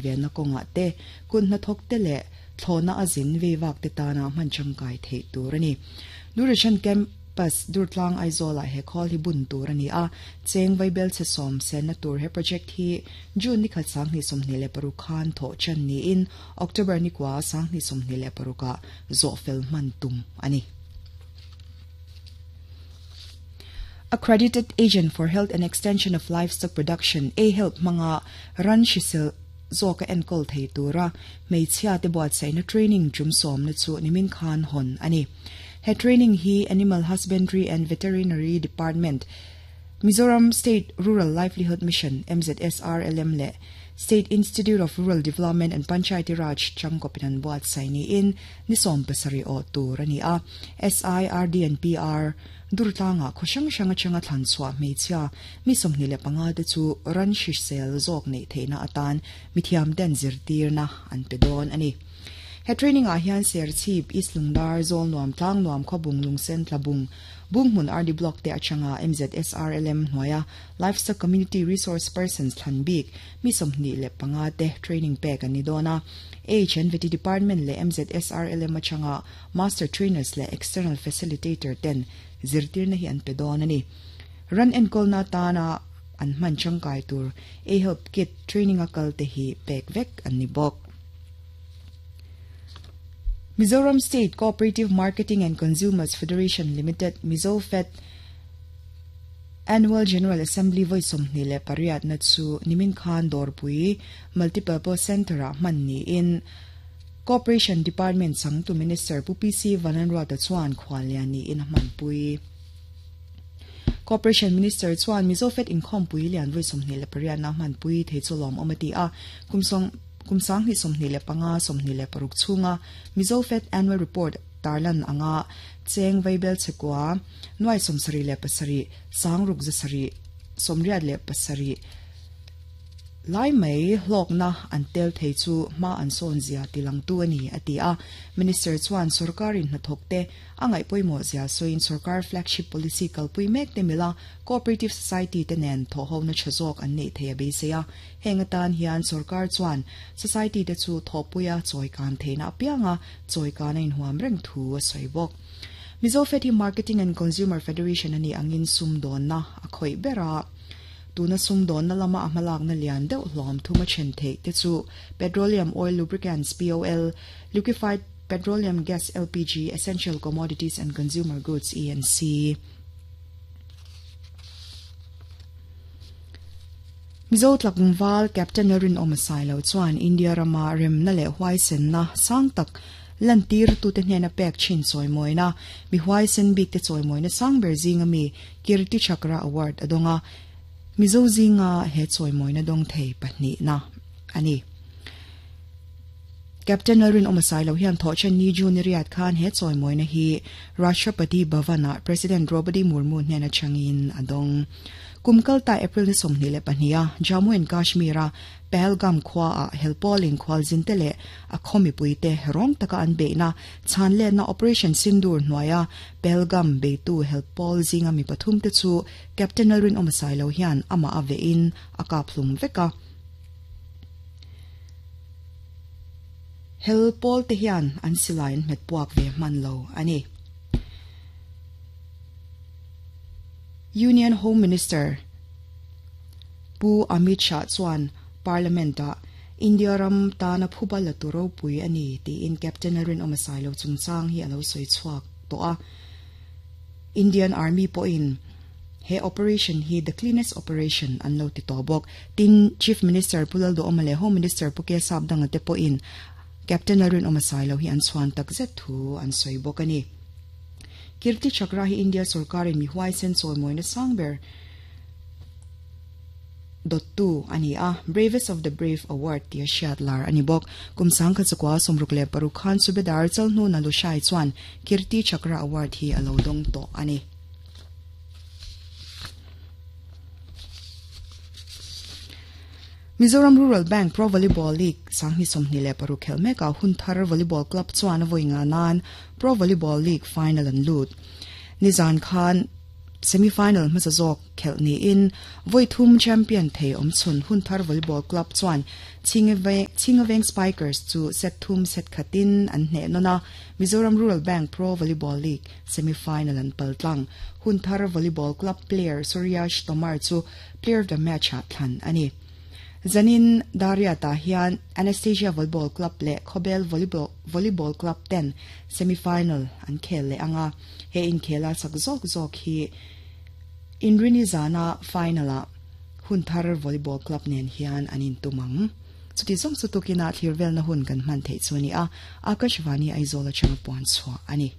Venna kawngah te, kut hnathawk te leh thlawhna a zin vei vak te tana hman tangkai theih tur a ni. Duration Campus Durtlang Aizawlah he khawl hi bun tur a ni a, cheng vaibelchhe sawm senna tur he project hi June nikhat 2026 khan thawh chan niin October nikua 2026 ah zawh fel hman tum a ni. Accredited Agent for Health and Extension of Livestock Production, AHELP, hmanga ran hrisel zawka enkawl thei tura hmeichhia te buatsaihna training tum sawmna chu nimin khan hawn a ni. He training hi Animal Husbandry and Veterinary Department, Mizoram State Rural Livelihood Mission, MZSRLM, leh State Institute of Rural Development and Panchayati Raj changkawpin an buatsaih niin ni 70 awh tur a ni a. SI, RD and PR, Durtlangah khaw hrang hrang atanga thlan chhuah hmeichhia mi 25 te chu ran hrisel zawk neih theihna atan mithiam ten zirtirna an pe dawn a ni. He training ah hian Serchhip, East Lungdar, Zawlnuam, Tlangnuam, Khawbung, Lungsen, Tlabung, Bunghmun RD Block te atanga MZSRLM hnuaia Livestock Community Resource Persons thlan bik mi 25 te training pek an ni dawn a. HNVT Department leh MZSRLM atanga Master Trainers leh External Facilitator ten zirtirna hi an pe dawn a ni. Ran enkawlna atana an hman tangkai tur A-Help Kit training a kal te hi pek vek an ni bawk. Mizoram State Cooperative Marketing and Consumers Federation Limited, MizoFed, Annual General Assembly vawi 28 na chu nimin khan Dawrpui Multipurpose Centre-ah hman niin Cooperation Department changtu Minister Pu PC Vanlalruata chuan khuallian niin a hmanpui. Cooperation Minister chuan Mizofed inkhawmpui lian vawi 28 na hmanpui thei chu lawmawm a ti a, kum kum 2025 26 chhunga Mizofed Annual Report tarlan anga cheng vaibel chhekua nuai 77 sangruk zasarih 87 Lai mai hlawkna an tel thei chu hma an sawn zia ti langtu a ni, a ti a. Minister chuan sorkarin hnathawkte a ngaih pawimawh zia sawiin sorkar flagship policy kalpui mek te mila cooperative society te nen thawhhona tha zawk an neih thei a beisei a. Heng atan hian sorkar chuan society te chu thawhpuia chawikan theihna apianga chawikan a inhuam reng thu a sawi bawk. Mizo Fed hi Marketing and Consumer Federation a nih angin sumdawnna a khawih ber a. Tuna sumdawnna lama a hmalakna lian deuh hlawm thum a then theih te chu Petroleum Oil Lubricants, POL, Liquefied Petroleum Gas, LPG, Essential Commodities and Consumer Goods, ENC. Mizo tlangval Captain Rinawma Sailo chuan India rama remna leh huaisenna sang tak lantirtute hnena pek thin chawimawina mi huaisen bikte chawimawina sang ber zinga mi Kirti Chakra Award a dawng a, Mizo zinga he chawimawina dawng thei pahnihna a ni. Captain Lalrinawma Sailo hian thawhchen ni June ni riat khan he chawimawina hi Rashtrapati Bhavan-ah President Droupadi Murmu hnen atangin a dawng. Kum kalta April ni 22 a Jammu and Kashmir-a Pahalgam khuaah helpawlin khualzinte leh a khaw mipuite rawng taka an beihna chhanletna Operation Sindoor hnuaia Pahalgam beitu helpawl zinga mi pathumte chu Captain Lalrinawma Sailo hian amah a vehin a kap hlum vek a. Helpawl te hian an silai an hmet puak ve hman lo a ni. Union Home Minister Pu Amit Shah chuan Parliament-ah India ram tana phuba la tu ropui a ni tiin Captain Lalrinawma Sailo chungchang hi a lo sawi chhuak tawh a. Indian Army pawhin he operation hi the cleanest operation an lo ti tawh bawk. Tin, Chief Minister Pu Lalduhawma leh Home Minister Pu Kesap Danga te pawhin Captain Lalrinawma Sailo hi an chhuan takzet thu an sawi bawk a ni. Kirti Chakra hi India sorkarin mi huaisen chawimawina sang ber dawttu a ni a, Bravest of the Brave Award tia hriat lar a ni bawk. Kum sangkhat 96 khan Subedar Chalhnuna Lushai chuan Kirti Chakra Award hi a lo dawng tawh a ni. Mizoram Rural Bank Pro Volleyball League 2026 khel mekah Hunthar Volleyball Club chuan a vawi nga nan Pro Volleyball League final an lut. Nizan khan. Semi-final hmasa zawk khelh niin vawi thum champion thei awmchhun Hunthar Volleyball Club chuan Chhingaveng Spikers chu set thum set khatin an hneh nawn a, Mizoram Rural Bank Pro Volleyball League semi-final an pal tlang. Hunthar Volleyball Club player Suryash Tomar chu Player of the Match-ah thlan a ni. Zanin Dariat-ah hian Anastasia Volleyball Club leh Khawbel Volleyball Club ten semi-final an khel leh ang a. He inkhela chak zawk zawk hi Inrini zana final-ah Hunthar Volleyball Club nen hian an intum ang. Chuti zawng chu tukinah thlir velna hun kan hman theih chu a ni a, Akashvani Aizawl atanga puan chhuah a ni.